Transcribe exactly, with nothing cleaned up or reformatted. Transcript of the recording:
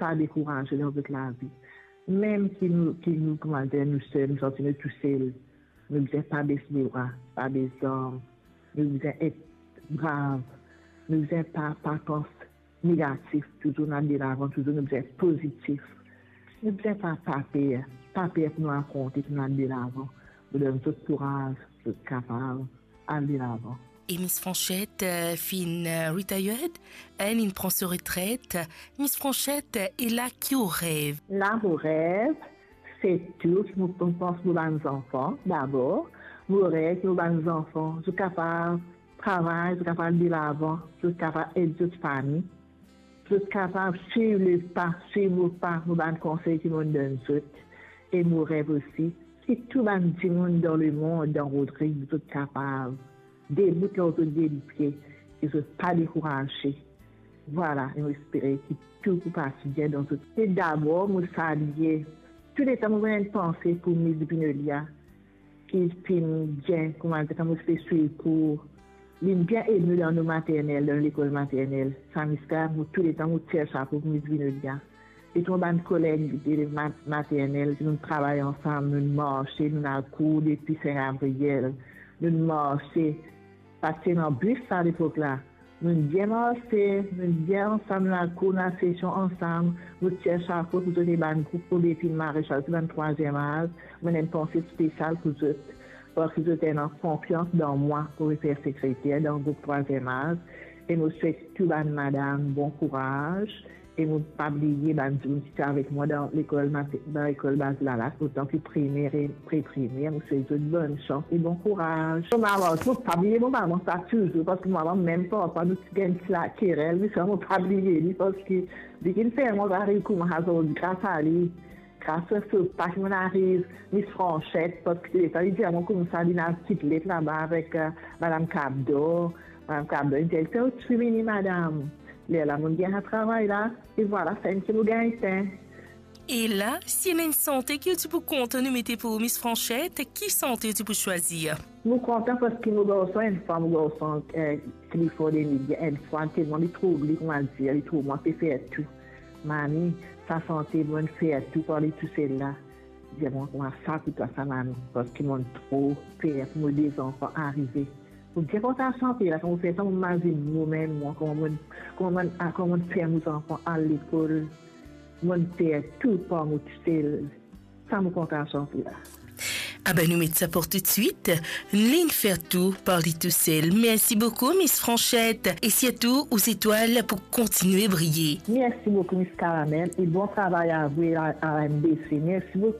pa dekouraze dan zot lavi. Mem ki nou, ki nou, kouma dir, nou sel, nou santi nou tousel, nou bizin pa bes lebra, pa bes zarm, nou bizin et brav, nou bizin pa, pa pans negatif, touzour nou al delavan, touzour nou bizin pozitif. Nou bizin pa, pa per, pa per pou nou afronte, pou nou al delavan. Nou donn zot kouraz, zot kapav al delavan. E Miss Franchette, euh, finn, euh, retired, elle, inn pran so retret. Miss Franchette, e la ki ou rev? La, mo rev, se tou ki mo, mo pans mo bann zanfan, dabor. Mo rev ki mo bann zanfan, zot kapav travay, zot kapav al delavan, zot kapav ed zot fami, zot kapav swiv lepa, swiv mo pa, mo bann konsey ki mo'nn donn zot. E mo rev osi ki tou bann dimoun dan lemond, dan Rodrig, zot kapav debout lor zot de lipie e zot pa dekouraze. Vwala, e mo espere ki tou pou pas bien dan zot. E dabor, mo salie, touletan mo ena enn panse pou Miss Vinolia, ki finn bien, kouma dir, kan mo ti pe swiv kour, li bien ed nou dan nou maternel, dan lekol maternel. Sa Miss la, mo touletan mo tir sapo pou Miss Vinolia. E tou bann koleg de ma-, maternel, ki nou travay ansam, nou marse, nou al kour depi Sin Gabriel, nou marse, pa ti ena bis sa lepok la. Nou bien marse, nou bien ansam, nou al kour, nou al sesion ansam, nou tir sapo pou zot, e bann group pou Bepin Maresal, ti bann trwaziem az, mo ena enn panse spesial pou zot, parski zot ena konfians dan mwa pou fer sekreter dan group trwaziem az, e mo swet tou bann madam bon kouraz, e mo pa bliye bann dimoun ki ti avek mwa dan lekol mate-, dan lekol baz Lalas, otan ki primer e pre-primer, mo swet zot bonn sans e bon kouraz. Mo mama, mo pa bliye mo mama sa touzour, parski mo mama mem parfwa nou ti gagn ti lakerel, me sa mo pa bliye li, parski li ki fer mwa ariv kouma azordi, gras a li. Gras a so pa ki mo'nn ariv Miss Franchette, parski letan li dir mwa koumsa, li ena ti let laba avek, euh, Madam Kabdo. Madam Kabdo, li dir, "Ou ti fini, madam." Lerla mo'nn gagn sa travay la, e vwala, sa enn ki mo gagn ten. E la, si ena enn sante ki ou ti pou kontan nou mete pou Miss Franchette, ki sante ou ti pou swazir? Mo kontan parski mo garson, enn fwa mo garson, eh, Clifford Emilien, enn fwa, telman li trouv li, kouma dir, li trouv mwa pe fer tou. "Mami, sa sante Mo'nn fer tou par li tousel la." Li dir mwa, "Kouma sa pou twa sa, mami, parski mo'nn tro per pou mo de zanfan arive." Mo bien kontan sante la, kan mo fer sa, mo mazinn momem mwa, kouma mo'nn, kouma mo'nn, ah, kouma mo'nn fer mo zanfan al lekol, mo'nn fer tou par mo tousel. Sa mo kontan sante la. Abe, nou met sa pou toutswit. Li'nn fer tou par li tousel. Mersi boukou, Miss Franchette. E sirtou, ou zetwal pou kontinie briye. Mersi boukou, Miss Caramel. E bon travay a vou e a, a R M B C. Mersi boukou.